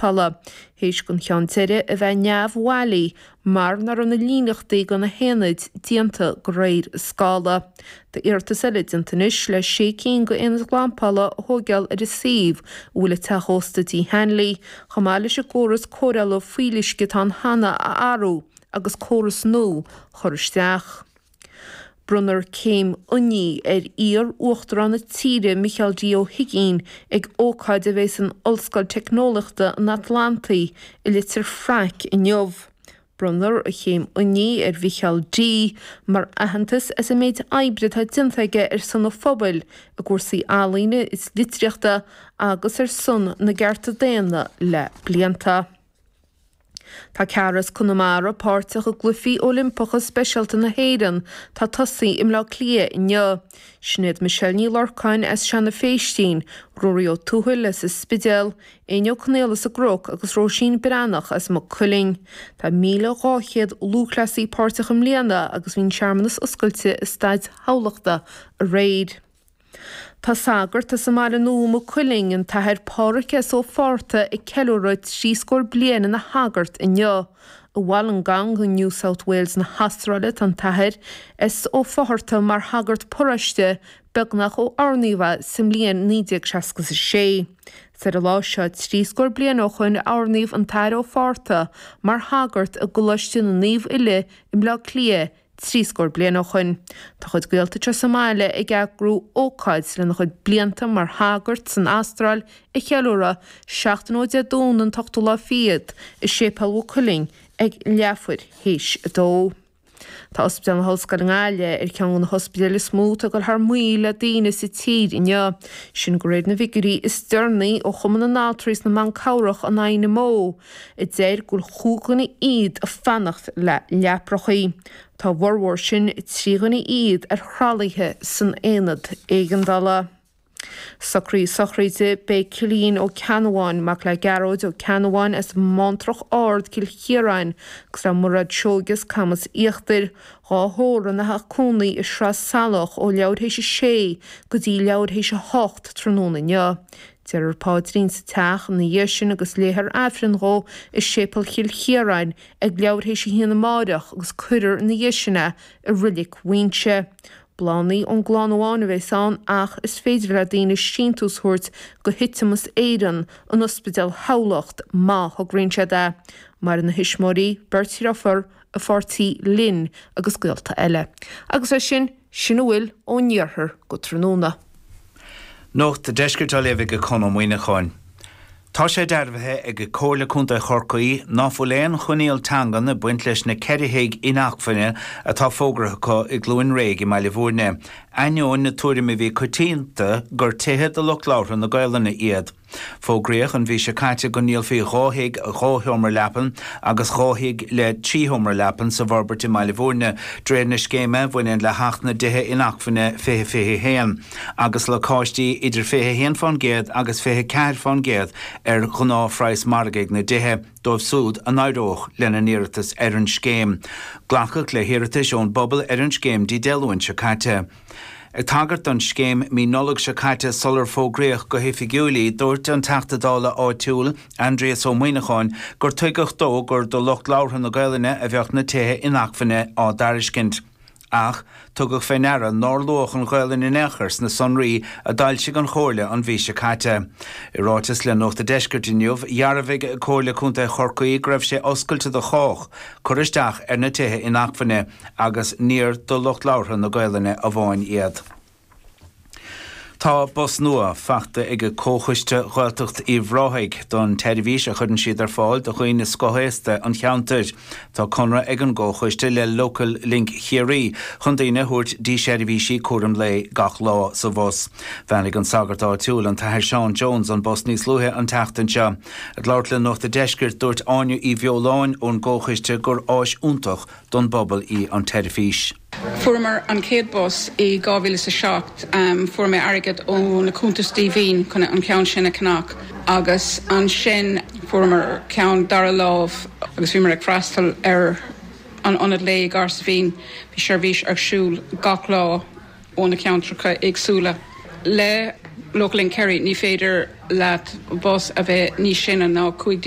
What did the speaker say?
ghlampála, théis don cheann deiridh a bheith neamhbhailí mar nach raibh na líníochtaí do na haonaid déanta de réir scála. Tá iarratas eile déanta anois le sé cinn d'aonaid ghlampála a thóigeáil ar an suíomh a bhfuil an teach ósta Dí Hanley, chomh maith leis an gcóras cóireála fuíolluisce atá ann cheana a athrú agus córas nua a chur isteach. Bronnfar céim oinigh ar iar-Uachtarán na tíre Micheál D. Ó hUigínn ag ócáid a bheidh san Ollscoil Teicneolaíochta an Atlantaigh i Leitir Fraic inniu. Bronnfar an chéim oinigh ar Mhicheál D. mar aitheantas as an méid oibre atá déanta aige ar son an phobail i gcúrsaí ealaíne is litríochta agus ar son na gcearta daonna le blianta. Tá ceathrar as Conamara páirteach i gCluichí Oilimpeacha Speisialta na hÉireann atá ag tosaí i mBleá Cliath inniu. Sin iad Michelle Ní Lorcáin as Seanadh Phéistín, Ruairí Ó Tuathail as an Spidéal, Éinne Ó Conaola as an gCnoc agus Róisín Breathnach as Maigh Cuilinn. Tá 1,200 lúthchleasaí páirteach i mbliana agus bhí an searmanas oscailte i Staid Thamhlachta aréir. Tá sagart as an mBaile Nua, Maigh Cuilinn, an tAthair Pádhraic S. Ó Fátharta ag ceiliúradh trí scór bliain ina shagart inniu. I Wollongong i New South Wales na hAstráile tá an tAthair S. Ó Fátharta mar shagart paróiste beagnach ó oirníodh é sa mbliain 1966. Is ar an lá seo trí scór bliain ó shoin a oirníodh an tAthair Ó Fátharta mar shagart i gColáiste na Naomh Uile i mBleá Cliath trí scór bliain ó shoin. Tá a chuid gaolta anseo sa mbaile ag eagrú ócáid lena chuid blianta mar shagart san Astráil a cheiliúradh, seachtain ó Dé Domhnaigh an t-ochtú lá fichead, i Séipéal Mhaigh Cuilinn ag leathuair théis a dó. Tá Ospidéal na hOllscoile i nGaillimh ar cheann de na hospidéil is mó atá ag dul thar maoil le daoine sa tír inniu. Sin de réir na bhfigiúirí is deireanaí ó Chumann na nAltraí is na mBan Cabhrach, an INMO, a deir go bhfuil chúig dhuine fhichead ag fanacht le leaprachaí. Tá a bhformhór sin, 3 dhuine fhichead, ar thralaithe san aonad éigeandála. Socruithe sochraide Beidh Cillian Ó Ceannabháin, mac le Gearóid Ó Ceannabháin as Móntrach Ard, Cill Chiaráin, agus le Mairéad Seoige as Camas Íochtair, dhá thórramh ina theach cónaí i Sraith Salach ó leathuair théis a sé go dtí leathuair théis a hocht tráthnóna inniu. Déarfar paidrín sa teach ina dhiaidh sin agus léifear Aifreann dhó i Séipéal Chill Chiaráin ag leathuair théis a haon amáireach agus cuirfear ina dhiaidh sin é i Roilic Mhuínse. Bláthannaí ón gclann amháin a bheas ann ach is féidir le daoine síntiús a thabhairt go Thiteamas Éireann in Ospidéal Thamhlacht má thograíonn siad é. Maireann a thuismitheoirí, beirt dhriofúr, a pháirtí Lynn agus gaolta eile. Agus leis sin, sin a bhfuil ón iarthar go tráthnóna. Nuacht an Deiscirt á léamh ag Conn Ó Muíneacháin. Tá sé dearbhaithe ag Comhairle Contae Chorcaí ná fuil aon choinníoll teangan ag baint leis na 4 thigh inacmhainne atá fógartha acu i gCluain Réidh i mBaile Bhúirne, ainneoin na tuairime a bhí coitianta gur tithe do lucht labhartha na Gaolainne iad. Fógraíodh an mhí seo caite go ndíolfaí 2 thigh 2 sheomra leapan agus 2 thigh le 3 sheomra leapan sa bhforbairt i mBaile Bhúirne de réir na scéime a bhaineann le hAcht na dTithe Inacmhainne 2021 agus lacáistí idir 21% agus 24% ar ghnáthphraghas margaidh na dtithe dóibh siúd a n-éireodh lena n-iarratas ar an scéim. Glacadh le hiarratais ón bpobal ar an scéim Dé Luain seo caite. Ag tagairt don scéim mí Nollag seo caite sular fógraíodh go hoifigiúil í, dúirt an Teachta Dála áitiúil, Aindrias Ó Muíneacháin, gur tuigeadh dó gur do lucht labhartha na Gaolainne a bheadh na tithe inacmhainne á dtairiscint. Ach, tugadh fé ndeara nár luadh an Ghaolainn in aon chor sna sonraí a d'fhoilsigh an Chomhairle an mhí seo caite. I ráiteas le Nuacht a' Deiscirt inniu, dhearbhaigh Comhairle Contae Chorcaí go raibh sé oscailte do chách cur isteach ar na tithe inacmhainne agus níor do lucht labhartha na Gaolainne amháin iad. Tá bus nua faighte ag Comhchoiste Ghaeltacht Uíbh Ráthaigh don tseirbhís a chuireann siad ar fáil do dhaoine scothaosta an cheantair. Tá conradh ag an gComhchoiste le Local Link Chiarraí chun daoine a thabhairt dtí seirbhísí cúraim lae gach lá sa bhus. Bheannaigh an sagart áitiúil, an tAthair Seán Jones, an bus níos luaithe an tseachtain seo. Ag labhairt le Nuacht a' Deiscirt, dúirt Áine Uí Bheoláin ón gComhchoiste gur áis iontach don bpobal í an tseirbhís. Fuaireamar an chéad bus i 2007. Fuair mé airgead ó na cuntais díomhaoin chun an ceann sin a cheannach agus ansin fuaireamar ceann dara lámh agus bhíomar ag freastal ar an ionad lae i Cahersiveen. Bhí seirbhís ar siúl gach lá ó na ceantracha éagsúla. Le Local Link Kerry ní féidir leat bus a bheith níos sine ná 15.